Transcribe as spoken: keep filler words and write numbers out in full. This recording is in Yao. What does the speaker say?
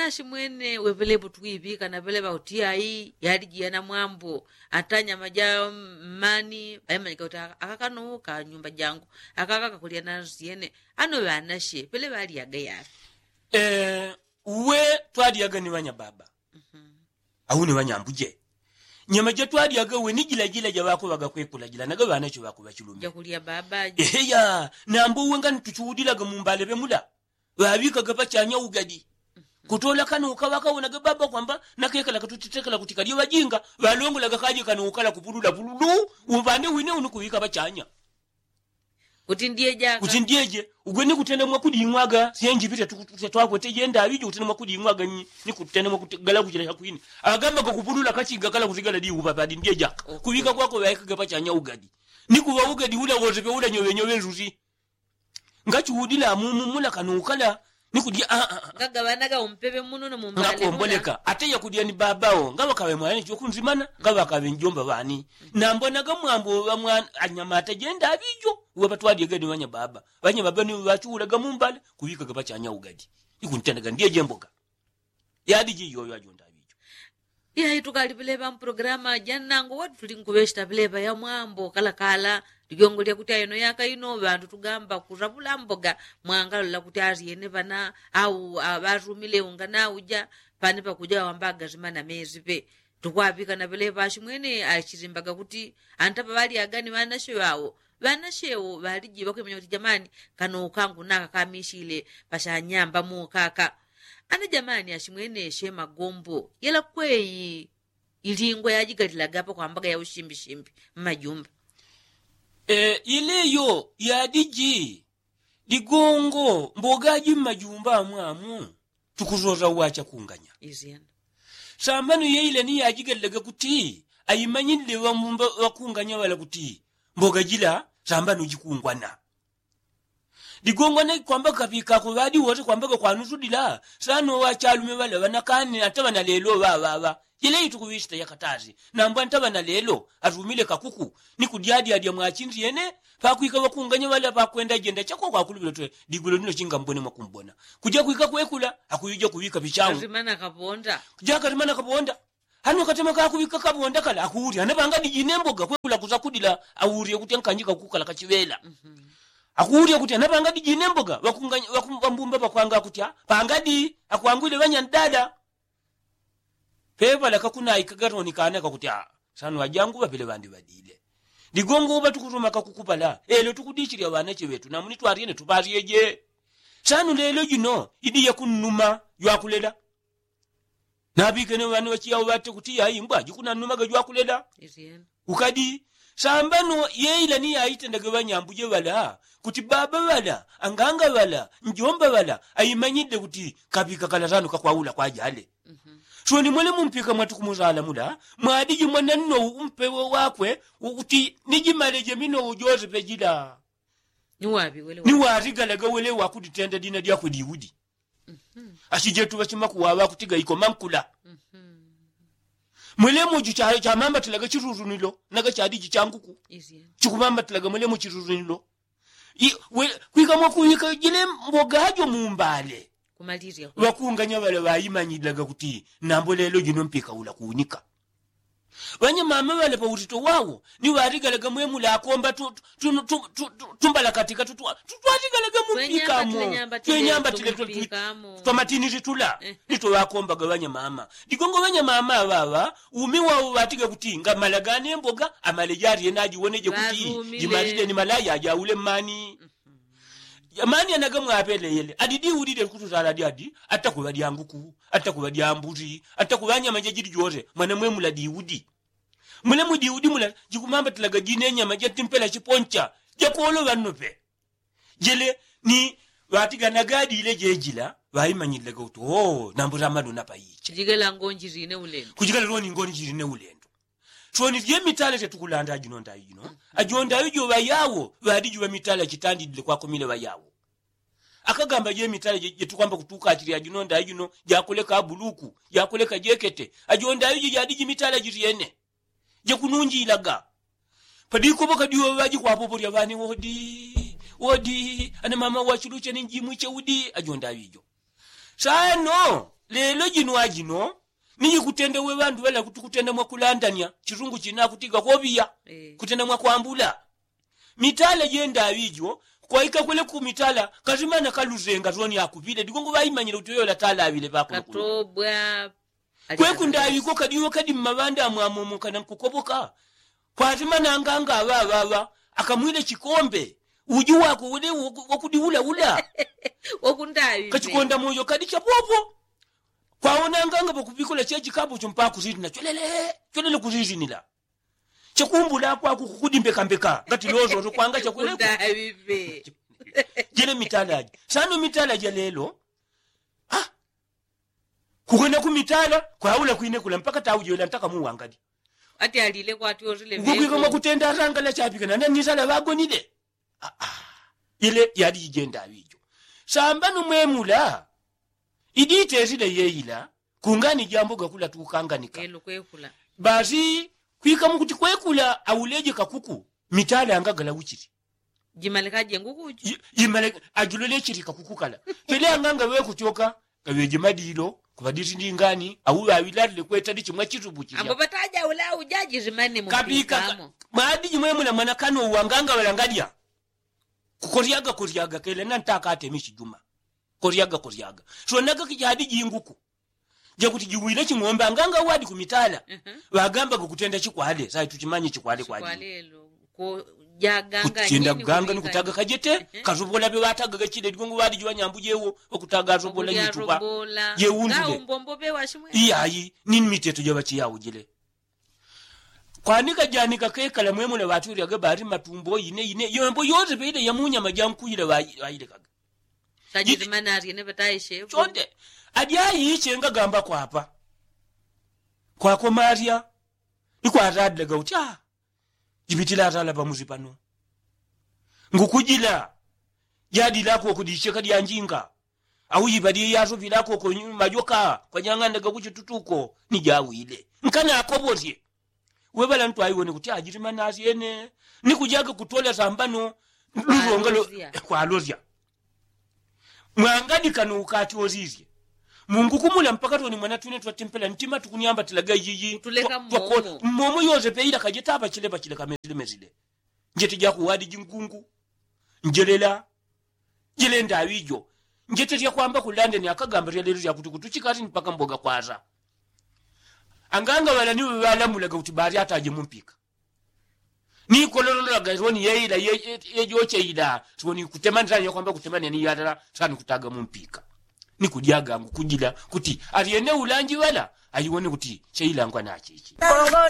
Ashi mwene wepelepo tukwipika napelepa kuti ayi yaliji yana mwambo. Ata nyama ja mmani aimanyika kuti akakano ka nyumba jangu, akaka kakulya nansi yene. Ano ŵanashe pele ŵalyaga yaŵi? Uwe twalyaga ni ŵanyababa au ni ŵanyambuje. Nyama jatwalyaga uwe ni jilajila jaŵakuŵaga kwekula jila naga ŵanache ŵakuŵa chilume. Jakulya baba. Eheya. Nambo uwe ngani tuchiudilaga mumbale ŵemula ŵaŵikaga pachanya ugadi. Kutola kano ukaŵakawonaga baba kwamba nakekala katutitekela kuti kalye ŵajinga ŵalongolaga kaje kano ukala kupulula pululu. Umbande wine unukuŵika pachanya. Kuti ndyeje ugwe ni kutenda mwakuding'waga syenji pita. Twakweteje ndaŵijo kutenda mwakuding'waga ni kutenda mwakugala kuchila chakwine. Agamba kakupulula kachinga kala kutigala diupa padi ndyeja. Kuŵika kwako ŵaekaga pachanya ugadi ni kuŵa ugadi ula wose pe ula nyoŵenyoŵe nsusi. Ngachiudila mumu mula kano ukala ni kudya. Ngagaŵanaga umpeŵe muno no mumbale ngakomboleka ate yakudya ni baba wo ngaŵakaŵe mwana chiwo kunzimana ngaŵakaŵe njomba ŵani. Nambonaga mwambo ŵa mwana anyamata jenda aŵijo. Uŵapatwalyega ni ŵanyababa. Ŵanyababa ni ŵachiulaga mumbale kuŵikaga pachanya ugadi ni kuntendaga ndyeje mboga. Yadiji iyoyo ajonda aŵijo. Iya itukali pelepa mpulogalamu ajanango watu tulinkuŵeshita pelepa ya mwambo kalakala. Lijongo lyakuti ayeno yaka ino ŵandu tugamba kuravula mboga mwangalola kuti aryene ŵana au ŵarumile unga nauja. Pane pakuja ŵawambaga rimana mezi pe tukwaŵika na pelepa ashimwene ashirimbaga kuti antapa ŵalyaga ni ŵanashe ŵawo. Ŵanashe wo ŵaliji ŵakwimanya kuti jamani kano ukangu naka kamishile pashanyamba mukaka. Ana jamani ashimwene she magombo yela kweyi. Ilingwa yajigalilagapa kwambaga ya ushimbishimbi mmajumba. Ileyo yadiji ligongo mbogaji mmajumba amwamu. Tukuzoza uwacha kunganya sambano yeile ni yajigalilage kuti ayimanyilile ŵamumba ŵakunganya ŵala kuti mboga jila sambano jikungwana. Ligongwa ne kwamba kapikako ŵadi wose kwamba ŵakwanusudila. Sano ŵachalume ŵala ŵanakane ata ŵana lelo ŵaŵaŵa. Jeleyi tukuŵisita yakatasi nambwa nta ŵana lelo atumile kakuku ni kudyadyadya mwachinsi yene. Pakwika ŵakunganya ŵala pakwenda jenda chakwa kwakuluvila twe. Ligwilo lino chinga mbone mwakumbona kuja kwika kwekula akuyuja kuŵika pichau. Jakatimana kaponda. Hano katema kakuŵika kaponda kala akuwulya ana pangadiji ne mboga kwekula kusakudila. Awulye kuti ankanjika kukala kachiŵela. Akuwulya kuti ana pangadiji ne mboga ŵambumba ŵakwanga kuti a pangadi akwangwile ŵanyandada. Peŵala kakunaika garoni kana kakuti a sanu ŵajangu ŵapele ŵandi ŵadile. Ligongo ŵatukutuma kakukupala elo tukudichilya ŵanache ŵetu namuni twaryene tuŵalyeje. Sanu lelo jino idi yakunnuma jwakulela. Naŵikene ŵana ŵachiyao ŵate kuti yaimbwa jikunannumaga jwakulela. Ukadi sambano yeila ni yaitendage ŵanyambuje ŵala kuti baba ŵala anganga ŵala njomba ŵala aimanyile kuti kaŵika kala sanu kakwaula kwajale. Soni mwele mumpika mwatukumusala mula mwadiji mwananno umpewe wakwe. Kuti nijimaleje minowo jose pejila. Ni watigalaga wele wakuditenda dina dyakwe diudi. Achijetu ŵachimakuwaŵa kutiga iko mankula. Mwelemuju chamambatilaga chirurunilo naga chadiji changuku. Chikumambatilaga mwelemu chirurunilo. Kwika mwakuwika jile mbogajo mumbale. Ŵakunganya ŵala ŵaimanyilaga kuti nambo lelo jino mpika ula kuunika. Ŵanyamama ŵale pautito wawo ni ŵaligalaga mwemula akomba tumbalakatika tutwaligalaga mumpikamo. Twenyambatile twamatinili tula ni twaŵakombaga ŵanyamama. Ligongo ŵanyamama ŵaŵa umi wawo ŵatiga kuti ngamala gane mboga amale jalyena ajiwoneje kuti jimalile ni malaya ajaule mmani. Amani anaga mwapeleyele adi diudi dyakutusala dyadi. Atakuŵa dyanguku atakuŵa dyambusi atakuŵa nyama jajidi jose mwana mwemula diudi. Mwelemu diudi mula jikumambatilaga jine nyama jatimpela chiponcha jakoloŵa nnope. Jele ni ŵatiganaga adile jejila ŵaimanyililaga kuti oo nambusa maluna paicha. Kujikala loni ngoni jiline ulendo. Soni jemitala tetukulanda ajinonda aijino ajonda aijo ŵayawo ŵadijuŵa mitala jitandidile kwakomile ŵayawo. Akagamba jemitala jetukwamba kutukachile ajinonda aijino jakuleka abuluku jakuleka jekete ajonda aijo jadiji mitala jilyene. Jakununjilaga padikopo kadioŵa jikwapopo lya ŵane wodi wodi ana mama wachiluche ni njimwiche udi ajonda aijo. Sano Lelo jino ajino ni jikutenda we ŵandu ŵala kuti kutenda mwakulandanya chisungu china kuti gakoŵiya. Kutenda mwakwambula mitala jenda aŵijo. Kwaika kwele ku mitala kasimana kalusenga soni akuŵile digongo ŵaimanyile kuti uyola tala aŵile ŵakuno kuno. Kweku ndaŵiko kadiwo kadi mmaŵanda amwamomoka na nkukopoka. Kwasimana anganga aŵaŵaŵa akamwile chikombe uji wako ule wakudiulaula. Kachikonda moyo kadi chapopo. Kwaona anganga ŵakuŵikula chechikapo chompaka kusitina cholele cholele kusitinila. Chakumbula kwaku kukudimbekambeka ngati lozozo kwanga chakweleko. Jele mitala aji sano mitala ja lelo. Kukwenda ku mitala kwaula kwine kula mpaka taujoela ntaka muwangali. Ati alile kwati orile ugwegwika mwakutenda atangala chapikana na nitala ŵagonile. Ile yali ijenda aŵijo. Sambano mwemula iditesile yeila kungani jambo gakula tukanganika. Basi kwika mukuti kwekula auleje kakuku mitala angagala uchili. Jimalekaje ngukuji. Jimale ajulole chili kakukukala. Pele anganga ŵe kuchoka gaŵeje madilo kuŵaditi ndingani au ŵaŵilalile kwetali chimwa chitupu chija. Kabika madi jimwemula mwana kano uwanganga ŵalangalya. Kukoryaga koryaga kele na ntakatemishi juma. Koryaga koryaga sonaga kijadi jinguku. Jakuti jiwile ching'ombe anganga wadi kumitala. Ŵagambaga kutenda chikwale sai tuchimanye chikwale kwadi. Kutenda kuganga ni kutaga kajete kasopola ŵe ŵatagaga chile digongo ŵadi jiŵanyambu jewo ŵakutaga asopola jitupa. Jeundule iyayi ni miteto jaŵachiyaujile. Kwanika janika kekala mwemula ŵaturyaga ŵali matumbo ine ine yombo yose peile yamunyama jankuile ŵailekaga. Chonde ajayi chenga gamba kwapa kwako marya. Ikwatadilaga uti a jipitila atala pamusi pano ngukujila. Jadilako kudicheka dyanjinga au jipadie yasopilako ko majoka kwanyang'andaga kuchitutuko ni jawile. Nkana akoposye weŵala ntwaiwone kuti ajili manasyene ni kujaga kutola sambano. Lulonga kwalosya. Mwangadika nuukati osisye mungu kumula mpaka toni mwana twine twatempela ntima tukunyambatilaga iyiyi. Mmomo yose peila kajeta apachile pachile kamesile mesile. Njete jakuwadi jingungu njelela. Jilenda aŵijo. Njetelya kwamba kulandeni akagamba lyalelo lyakuti kutuchikati ni mpaka mboga kwasa. Anganga ŵalani ŵalamulaga kuti balyataje mumpika. Ni kolololaga siwoni yeila yejocheila siwoni kutemani sani yakwamba kutemani ni yalala sani kutaga mumpika. Ni kudyaga ngukujila kuti alyene ulanji ŵala ayiwone kuti cheilangwa nacheche.